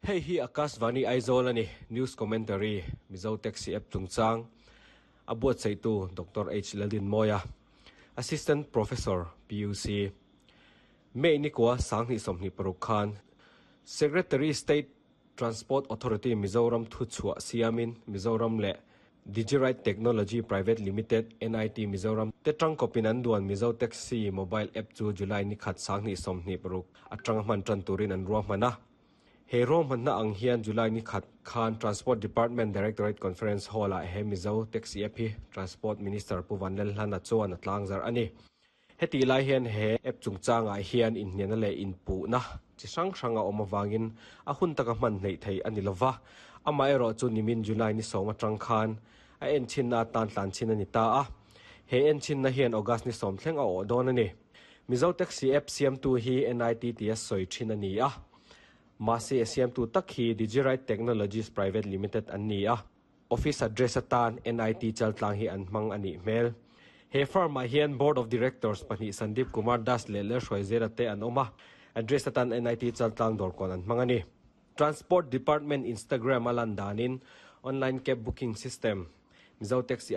Hei hi Akashvani Aizawl a ni, News Commentary, Mizo Taxi App chungchang a buatsaihtu Doctor H Laldinmawia, Assistant Professor, PUC. May nikua 2026 khan Secretary State Transport Authority Mizoram thuchhuah siamin Mizoram leh Digiride Technology Private Limited, NIT Mizoram te tangkawpin an duan Mizo Taxi mobile app chu July nikhat 2026 atanga hman tan turin an ruahman a. He ruahmanna ang hian July nikhat khan Transport Department Directorate Conference Hall-ah he Mizo Taxi app hi Transport Minister Pu Vanlalhlana chuan a tlangzarh a ni. Hetih lai hian he app chungchangah hian inhnialna leh inpuhna chi hrang hrang a awm avangin a hun taka hman hleih theih a ni lova, amaherawh chu nimin July ni sawm atang khan a enchhinna atan tlanchhin a ni ta a, he enchhinna hian August ni sawm thleng a awh dawn a ni. Mizo Taxi app siamtu hi NIT tia sawi thin a ni a, mahse a siamtu tak hi Digiride Technologies Private Limited an ni a. Office address atan NIT Chaltlang hi an hmang a nih hmel. He firm-ah hian Board of Directors pahnih Sandeep Kumar Das leh Lalhruaizela te an awm a, address atan NIT Chaltlang dawrkawn an hmang a ni. Transport Department Instagram a lan danin online cab booking system Mizo Taxi.